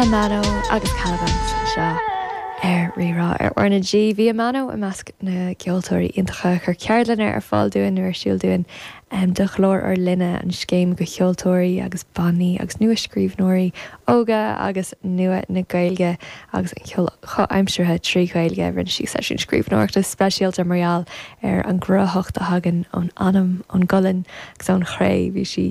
Amano agus Calabans anseo ar Rí-Rá ar R na G. Bhí Amano i measc na gceoltóirí iontacha a chuir ceardlanna ar fáil dúinn nó ar siúl dúinn do Ghlór ár Linne, an scéim do cheoltóirí agus bannaí agus nua-scríbhneoirí óga agus nua na Gaeilge agus an cheoil chomhaimseartha trí Ghaeilge. Rinne sí seisiún scríbhneoireachta speisialta mar gheall ar an gcruthaitheacht a thagann ón anam, ón gcolainn agus ón chré. Bhí sí.